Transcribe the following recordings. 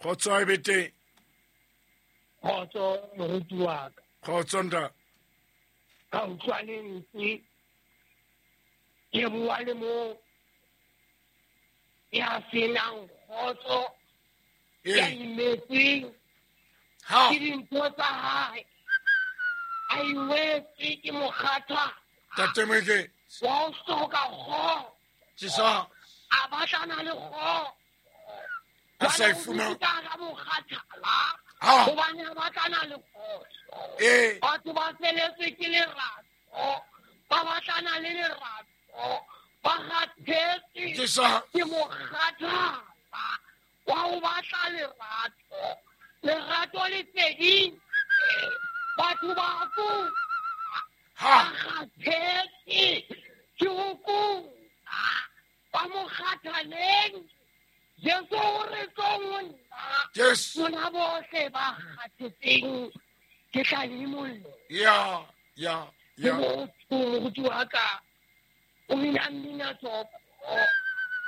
Kgotso a e be teng. Kgotso moruti wa ka. Kgotso ntate. Ka utlwa lentswe ke bua le mo ya senang kgotso, ya imetsweng ke dintho tsa hae, a iwetse ke mokgatha Tate Moeketsi. Wa ho hloka kgotso. Jesus. A batlana le kgotso. A sa e fumana. Ka mokgathala. Hobane a batlana le kgotso. Batho ba feletswe ke lerato. Ba batlana le lerato. Ba kgathetse Jesus. Ke mokgathala wa ho batla lerato. Lerato le fedile. Batho ba kula. Ba kgathetse ke ho kula. Ba mokgathaleng. Jesu o re tlong ho nna. Yes. Lona bohle ba kgathetseng ke tla le imolla. Ya, ya, ya. Ke motho moruti wa ka. O bina mmina tsoko.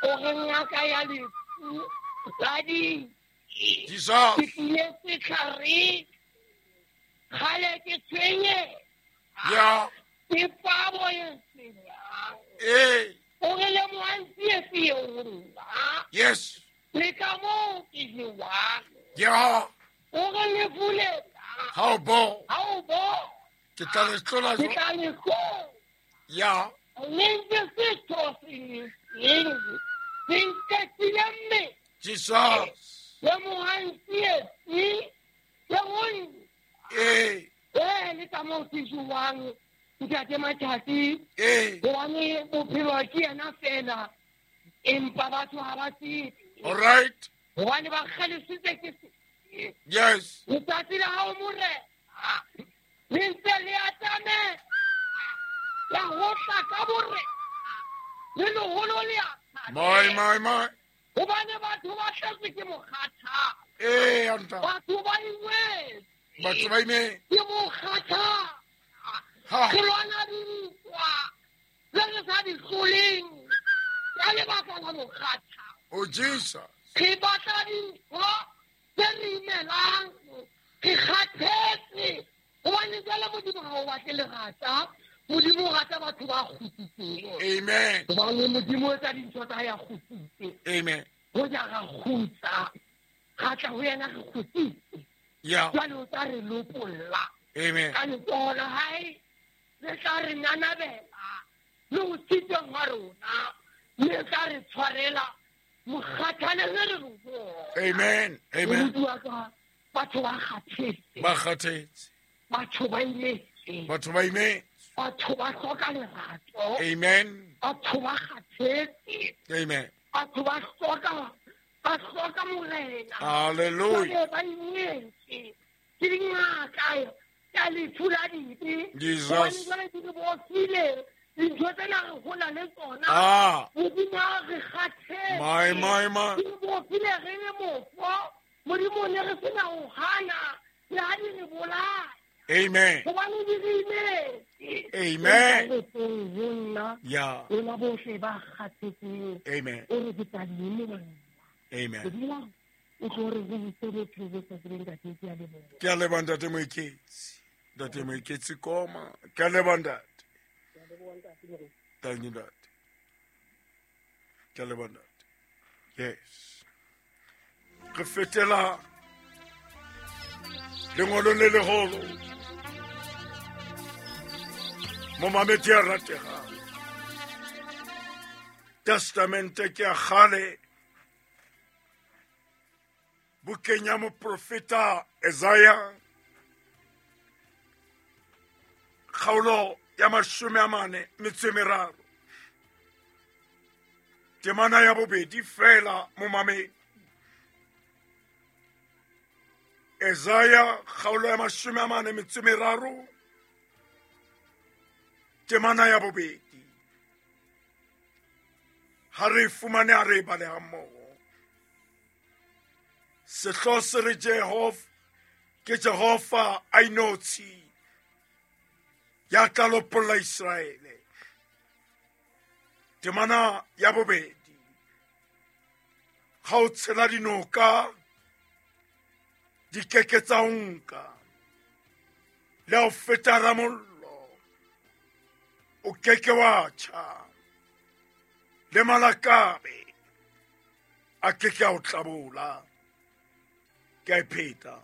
O re ngaka ya lefu la di. Jesus. Ke tlile setlhareng. Kgale ke tshwenye. Ya. Ke pabo e senyang. Ee. O re lemohang tsietsi eo ho nna. Yes. Le ka moo ke jewang. Ya. O re lefu lena. Ha o bo. Ha o bo. Ke tla le hlola Ke tla le hlola. Ya. Le ntse setho se le seng. Se nketile mme. Jesus. Lemohang tsietsi eo ho nna. Ee. Ee, le ka moo ke jewang. Ntate Matjhasi. Ee. Hobane bophelo ke yena fela. Empa batho ha ba tsebe. All right. Hobane ba kgalefisitswe ke se. Yes. Letsatsi la hao Morena le ntse le atamela. La ho tla ka borena. Le leholo le a My, my, my. Hobane batho ba tletswe ke mokgathala. Ee, anta. Batho ba imetse. Batho ba imetse. Ke mokgathala. Ha. Re lwana dintwa tse re sa di hloleng ka lebaka la mokgathala. Oh, Jesus. Re batla dintho tse re imelang. Re kgathetse. Hobane jwale Modimo ha o batle lerata. Modimo o rata batho ba kgutsitseng. Amen. Hobane Modimo o etsa dintho tsa hae a kgutsitse. Amen. Hoja ra kgutsa, ra tla ho yena re kgutsitse. Yeah. Jwale o tla re lopolla. Amen. Ka letsoho la hae le tla re nanabela le ho sitweng ha rona, le tla re tshwarela mokgathale re re ho. Amen. Amen. Moruti wa ka, batho ba kgathetse. Ba kgathetse. Batho ba imetse. Batho ba imetse. Batho ba hloka lerato. Amen. Batho ba kgathetse. Amen. Batho ba hloka Morena. Hallelujah. Jwale ba imetse. Ke dingaka ya lefu la dibe. Jesus. Hobane jwale di re bofile. Dintho tsena re hola le tsona. Ah. Modimo a re kgathetse. My, my, my. Di re bofile re le mofo. Modimo ne re sena ho hana. Le ha di re bolaya. Amen. Hobane di re imetse. Amen. Re tsweng ho nna. Yeah. Lona bohle ba kgathetseng. Amen. O re ke tla le imolla. Amen. Modimo o tlo re go buse bophelo bo sa tsebeng ntate, ke a leboha. Ke a leboha ntate Moeketsi. Ntate Moeketsi Koma. Ke a leboha ntate. Thank you, ntate. Ke a leboha ntate. Yes. Re fetela lengolong le leholo. Momamedi ya rategang. Testamente ke ya kgale. Bukeng ya moprofeta Isaiah, kgaolo ya 43, temana ya bobedi fela momamedi. Isaiah kgaolo ya 43, temana ya bobedi. Ha re fumane a re bale hammoho. Sehlooho se re Jehova ke Jehova a inotshi ya tla lopolla Iseraele. Temana ya bobedi. Ha o tshela dinoka Di keke tsa o nka. Le ha o feta hara mollo, o keke wa tjha. Le malakabe a keke a o tlabola. Ke a e pheta.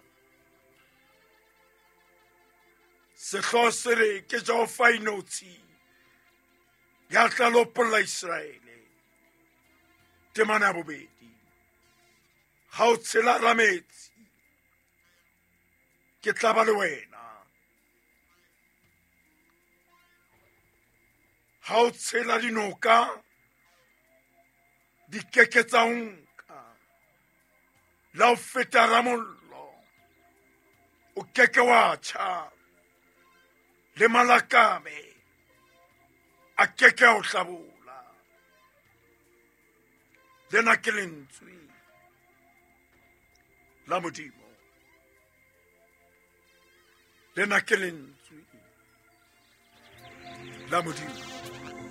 Sehlooho se re ke Jehova inotshi ya tla lopolla Iseraele. Temana ya bobedi. Ha o tshela hara metsi, ke tla ba le wena. Ha o tshela dinoka, di keke tsa o nka. La o feta hara mollo, o keke wa tjha. Le malakabe a keke a o hlabola. Lena ke lentswe la Modimo. Lena ke lentswe la Modimo.